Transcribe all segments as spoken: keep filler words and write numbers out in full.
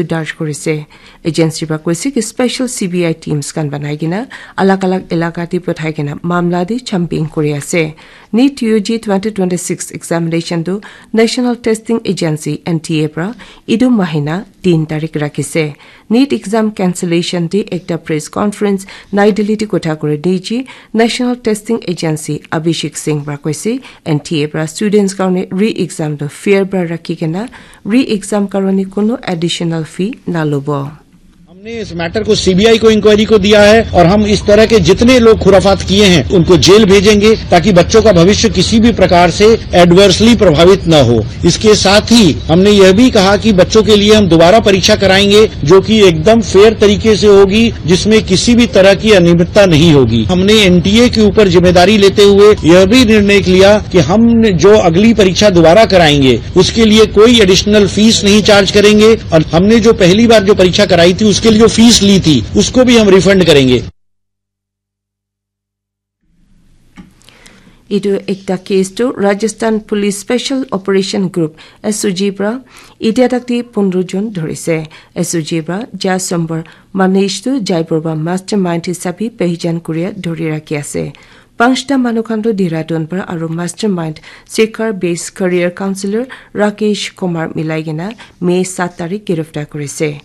darj kurise. Agency para koise ki special C B I teams khan banai kena alag alag elaka te pathai kena mamla te chambing kuri ase. NEET U G twenty twenty-six examination tu National Testing Agency, N T A, para etu mahina tin tarik rakhise. NEET exam cancellation te ekta press conference Nai Delhi te kotha kuri D G National Testing Agency Abhishek Singh para koise, N T A para students karone re-exam tu fair para rakhi kena re-exam karone kono additional fee na lobo. हमने इस मैटर को सीबीआई को, इंक्वायरी को दिया है और हम इस तरह के जितने लोग खुराफात किए हैं उनको जेल भेजेंगे, ताकि बच्चों का भविष्य किसी भी प्रकार से एडवर्सली प्रभावित न हो। इसके साथ ही हमने यह भी कहा कि बच्चों के लिए हम दोबारा परीक्षा कराएंगे, जो कि एकदम फेयर तरीके से होगी, जिसमें किसी भी तरह की अनियमितता नहीं होगी। हमने एनटीए के ऊपर जिम्मेदारी लेते हुए यह भी निर्णय लिया कि हम जो अगली परीक्षा दोबारा कराएंगे, उसके लिए कोई एडिशनल फीस नहीं चार्ज करेंगे और हमने जो पहली बार जो परीक्षा कराई थी, उसके लिए जो फीस ली थी, उसको भी हम रिफंड करेंगे। Etu ekta case tu Rajasthan Police Special Operation Group, S O G, pra etia tak te pondro jon dhorise. S O G pra Ja Sombar Manish tu Jaipur pra mastermind hisabe pehijan kuria dhori rakhi ase. Panchta manu khan tu Dehradun pra aru mastermind Shikhar Base Career Counselor Rakesh Kumar milai kena May saat tarik giriftar kurise.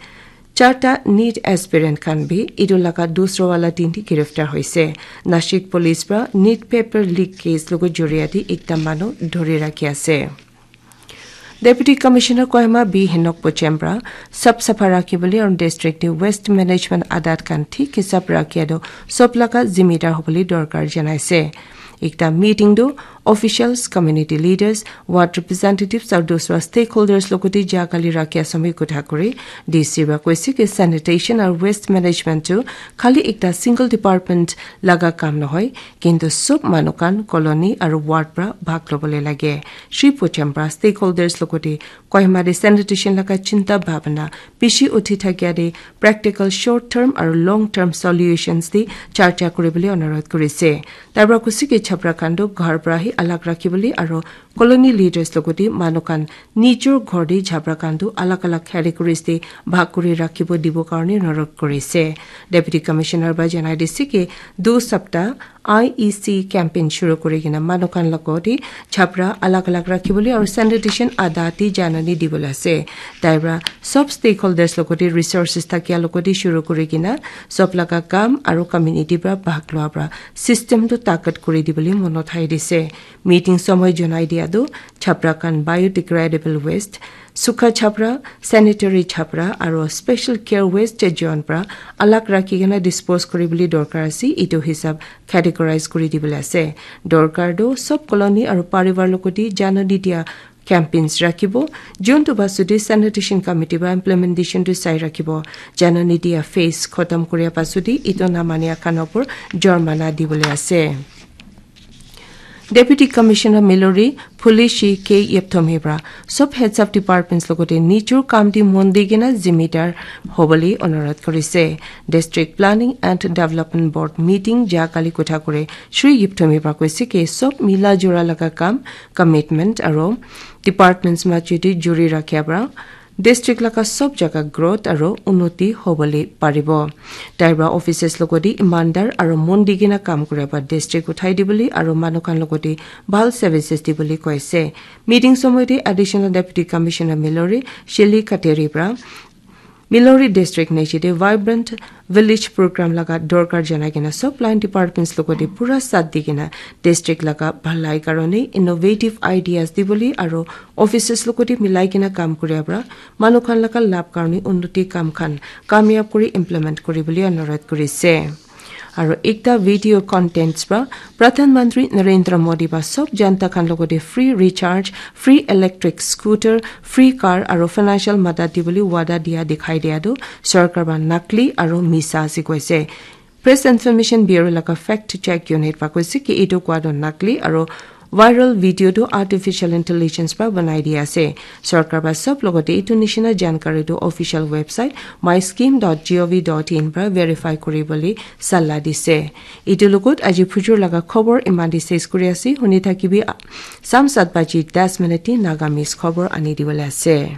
Charta NEET aspirant khan bi etu laga dusra wala din te giriftar hoise. Nashik police pra NEET paper leak case logo joriya te ekta manu dhori rakhi ase. Deputy Commissioner Kohima B Henok Pochem pra sap sapha rakhi bole aru district te waste management adat khan thik hisab rakhi ado sob laga zimidar hobole dorkar janaise. Ekta meeting tu officials, community leaders, ward representatives aru dusra stakeholders logote jakali rakhi ase moi kotha kuri. D C pra koise ki sanitation aru waste management tu khali ekta single department laga kam nohoi, kintu sob manu khan colony aru ward pra bhag lobole lage. Shri Pochem pra stakeholders logote Kohima te sanitation laga chinta bhabana bishi uthi thakia te practical short term aru long term solutions te charcha kuribole onurodh kurise. Tar pra kusi ke chapra khan tu ghar pra hi alag rakhibole aru colony leaders logote manu khan nijor ghor te chapra khan tu alag alag categories te bhag kuri rakhibo dibo karne onurodh kurise. Deputy Commissioner pra janai dise ke du sapta I E C campaign shuru kuri kena manu khan logote chapra alag alag rakhibole aru sanitation ada te janani dibole ase. Tai pra sob stakeholders logote resources thakia logote shuru kuri kena sob laga kam aru community pra bhag lua pra system tu takat kuri dibole monot hai dise. Meeting somoy janai dia tu chapra khan biodegradable waste, sukha chapra, sanitary chapra aru special care waste jon pra alag rakhi kena dispose kuribole dorkar ase. Etu hisab categorize kuri dibole ase. Dorkar tu sob colony aru parivar logote janani dia campaigns rakhibo. Jontu pasute sanitation committee pra implementation tu sai rakhibo. Janani dia phase khotom kuria pasute etu namania khan opor jormana dibole ase. Deputy Commissioner Milori Phulishi K Yepthomi pra sob heads of departments logote nijor kam te mon di kena zimidar hobole onurodh kurise. District Planning and Development Board meeting ja kali kotha kure Shri Yepthomi pra koise ke sob mila jora laga kam, commitment aru departments majute juri rakhia pra district laga sob jaga growth aru unnoti hobole paribo. Tai pra offices logote imandar aru mon di kena kam kura pra district uthai dibole aru manu khan logote bhal services dibole koise. Meeting somoy te Additional Deputy Commissioner Milori Sheli Kateri pra Milori district niche te vibrant village program laga dorkar janai kena sob line departments logote pura saath di kena district laga bhalai karone innovative ideas dibole aru offices logote milai kena kam kuria pra manu khan laga labh karone unnoti kam khan kamyab kuri implement kuribole onurodh kurise. Aru ekta video contents pra Pradhan Mantri Narendra Modi pra sob janta khan logote free recharge, free electric scooter, free car aru financial madad dibole wada dia dikhai dia tu sorkar pra nakli aru misa ase koise. Press Information Bureau laga fact check unit pra koise ki etu koa tu nakli aru viral video tu artificial intelligence pra banai dia ase. Sorkar pra sob logote etu nishina jankari tu official website my scheme dot gov dot in pra verify kuribole sala dise. Etu logot aji phujur laga khobor iman te ses kuri ase. Huni thakibi, a, sam saat baji das minute te Nagamese khobor ani dibole ase.